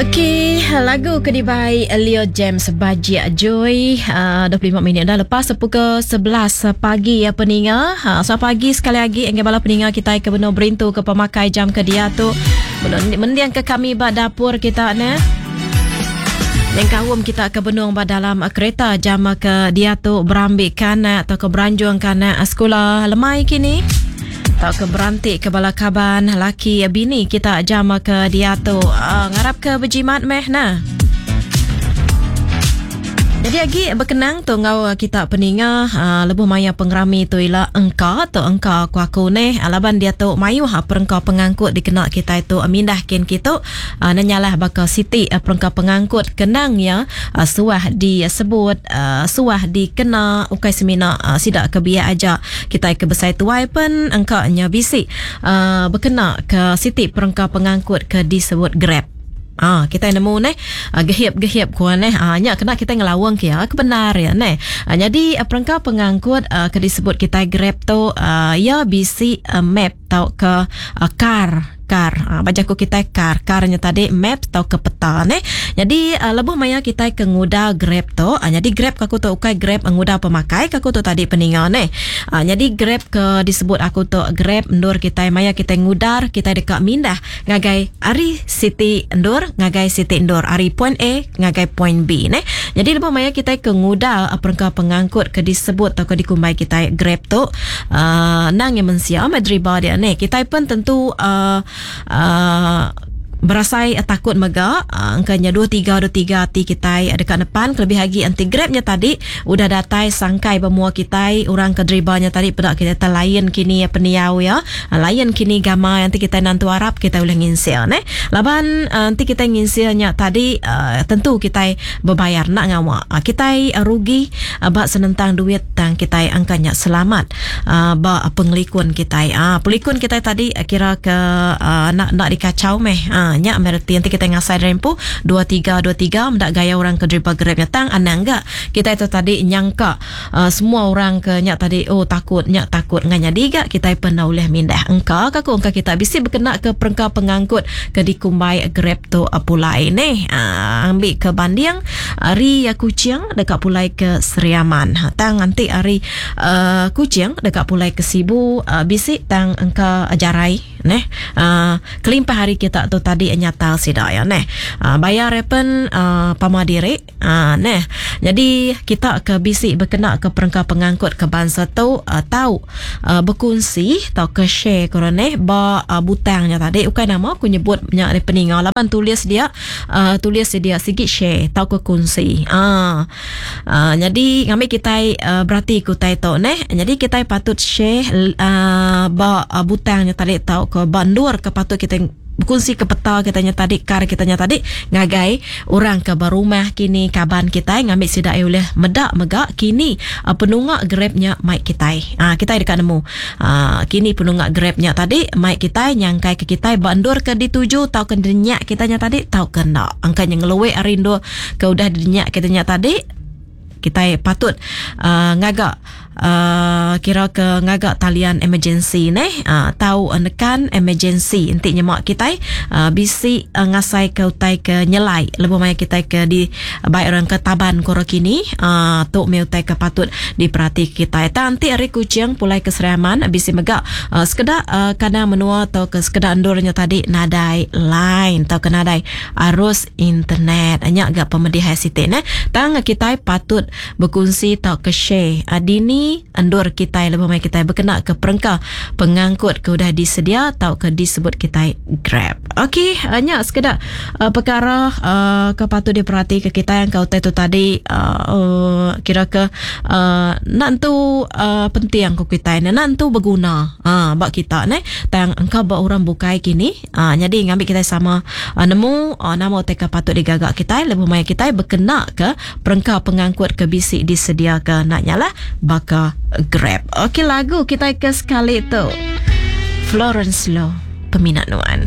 Okey, lagu ke dibai Leo James Bajik Joy uh, 25 minit dah lepas pukul 11 pagi ya peninga. Ha, selamat pagi sekali lagi enggai bala peninga kita ke benung berintu ke pemakai jam ke dia tu. Benung mendiang ke kami ba dapur kita ne. Nyengkaum kita ke benung ba dalam kereta jam ke dia tu berambi kanak atau ke beranjung kanak sekolah lemai kini. Tauka beranti ke bala kaban laki bini kita jam ke diatu. Uh, ngarap ke bejimat meh nah. Jadi agi bekenang tu enggau kita peninga uh, lebuh maya pengerami tu ila engka tu engka ku aku neh laban dia tu mayuh perengka pengangkut dikena kita tu mindah kin kitu uh, nenyalah baka siti uh, perengka pengangkut kenang ya uh, suah disebut uh, suah dikena ukai semina uh, sida ke biak aja Kitai ke besai tuai pen engka nya bisi uh, bekena ke siti perengka pengangkut ke disebut Grab. Ah, kitai nemu neh gehip-gehip ku neh. Ah, nya kena kitai ngelawang ke ya ke bendar ya neh. Ah, nyadi perengka pengangkut uh, ke disebut kitai Grab tu uh, ya bisi uh, map tauka uh, kar kar. Ha, ba jaku kitai kar. Kar nya tadi map tauka peta neh. Nyadi uh, lebuh maya kitai ke nguda Grab tu, uh, nyadi Grab ke aku tu ukai Grab nguda pemakai ke aku tu tadi peninga neh. Uh, nyadi Grab ke disebut aku tu Grab endur kitai maya kitai ngudar kitai deka mindah ngagai ari siti endur ngagai siti endur ari point A ngagai point B neh. Nyadi lebuh maya kitai ke nguda perengka pengangkut ke disebut tauka dikumbai kitai Grab tu uh, nang yang mensia meh driba dia neh. Kitai pun tentu uh, uh, berasai takut mega uh, engka nya 2 3 2 3 ati kitai deka nepan kelebih agi enti Grab nya tadi udah datai sangkai ba mua kitai orang ke driba nya tadi peda kitai lain kini pendiau ya lain kini gama enti kitai nantu arap kitai ulih nginsil neh laban uh, enti kitai nginsil nya tadi uh, tentu kitai bebayar enda ngawa kitai rugi ba senentang duit tang kitai angka nya selamat ba pengelikun kitai. Pelikun kitai tadi kira ke enda enda dikachau meh. Nya meh reti enti kitai ngasai diri empu 2323 meda gaya orang ke deriba Grab nya tang anang ga kitai tu tadi nyangka semua orang ke nya tadi oh takut nya takut ngan nyadi ga kitai pen enda ulih mindah. Engka ka ku engka kita bisi bekena ke perengka pengangkut ke dikumbai Grab tu pulai neh. Ambi ke banding ari Kuching deka pulai ke Sri Aman. Tang enti ari uh, Kuching deka pulai ke Sibu uh, bisi tang engka jarai neh. Uh, kelimpah ari kita tu tadi nyata sida ya neh. Uh, bayar pen uh, pama diri uh, neh. Jadi kita ke bisi bekena ke perengka pengangkut ke bansa tu uh, tau uh, bekunsi tauka share ko neh ba uh, butang nya tadi ukai nama aku nyebut nya peninga laban tulis dia uh, tulis dia sigi share tauka kunsi. Uh, uh, jadi ngambi kitai uh, berati ke utai tu neh. Jadi kitai patut share uh, ba uh, butang nya tadi tauka ba endur ke patut kitai bekunsi ke peta kita nya tadi kar kita nya tadi ngagai orang ke ba rumah kini kaban kitai ngambi sida ia ulih meda mega kini uh, penunga Grab nya mai kitai. Uh, kitai deka nemu uh, kini penunga Grab nya tadi mai kitai nyangkai ke kitai ba endur ke dituju tauka denyak kita nya tadi tauka enda. Angka nya ngeluwe ari endur ke udah didenyak kita nya tadi kitai patut uh, ngaga uh, kira ke ngaga talian emergency neh uh, tau nekan emergency enti nyema kitai uh, bisi uh, ngasai ke utai ke nyelai lebuh maya kitai ke di bai orang ke taban ko kini uh, tu meh utai ke patut diperati kitai. Tang enti ari Kuching pulai ke Sri Aman bisi mega uh, sekeda uh, kandang menua atau ke sekeda endur nya tadi nadai line tauka nadai arus internet. Nya ga pemedih ai siti neh. Tang kitai patut bekunsi tauka share dini endur kitai lebuh maya kitai bekena ke perengka pengangkut ke udah disedia tauka disebut kitai Grab. Okey, nya sekeda perkara ke patut diperati ke kitai angka utai tu tadi kira ke enda entu penting ku kitai ne, enda entu beguna ba kita neh. Tang engka ba orang bukai kini. Aa nyadi ngambi kitai sama nemu nama utai ke patut digaga kitai lebuh maya kitai bekena ke perengka pengangkut ke bisi disediaka enda nyalah baka Grab. Okey lagu kitai ke sekali tu Florence Lo Peminat Nuan.